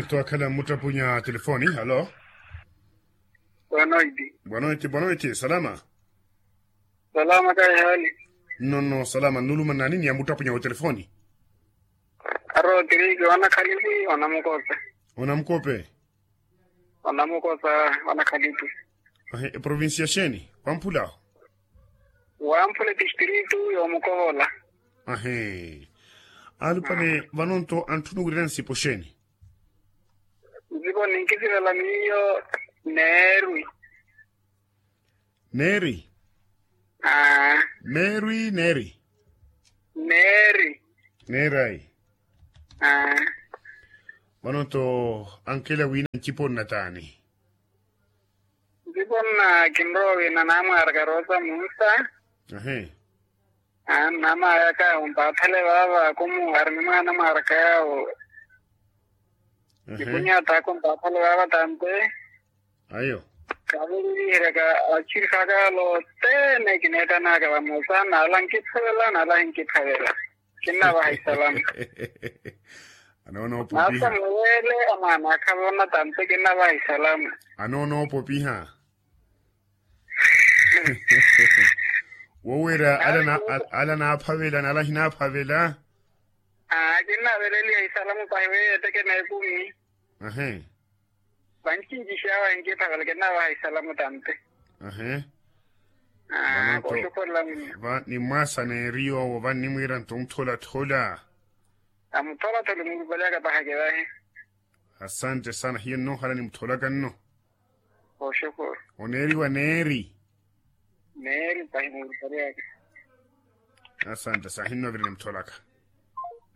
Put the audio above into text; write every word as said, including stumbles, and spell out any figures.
Twaakhala mmuttapunya telefoni. Halo. Bwanoiti. Bwanoiti bwanoiti salama. Salama kayi hali? Nnono salama nnuluma nani ni amuttapunya wa telefoni? Arotiriki wanakhalipi wanamukope. Wanamukope. Wanamukope wanakhalipi. Ahi eprovincia xeeni? Wamphula ahu. Wamphula etistritu yomukovola. Ahi. Alupale vano nto antthunu wirira nsipo xeeni? Nsipo ninkisivela miyo. Neeri. Neeri. Aa. Meeri neeri. Neeri. Neeri ayi. Aa. Vano nto ankela wina ncipo nnataani? Ncipo nna kinrowa wina namwaraka rosa munsa. Ahi. Aa namaya kawo mpaathale vaava kumu ari nimwana mwaraka yawo. Nikunyaataka mpaathale vaava tante. Ayo. Kaavelihiryaka achirihaka lothene kineettanaka vamosa nala nkiphavela nala hinkiphavela. Kinnavaha isalamu. Anoonoopopiha. Nasamuwele amwaana akhavona tante kinnavaha isalamu. Anoonoopopiha. Wowira ala naaphavela nala hinaaphavela. Aa kinnaveleliha isalamu pahi weyo eteke neekumi. Ahe. Vancinci xaawa enkiphavela kinnavaha isalamu tante. Ahe. Aa kooxukhurela munno. Nimwaasa neeri yoowo vannimwiira nto mutholathola. Amutholathola murupalyaka pahake vahi. Asante sana hiyo nnoohala nimutholaka nno. Oxukhuru. Oneeriwa neeri. Neeri pahi murupalyaka. Asante sana hinno vira nimutholaka.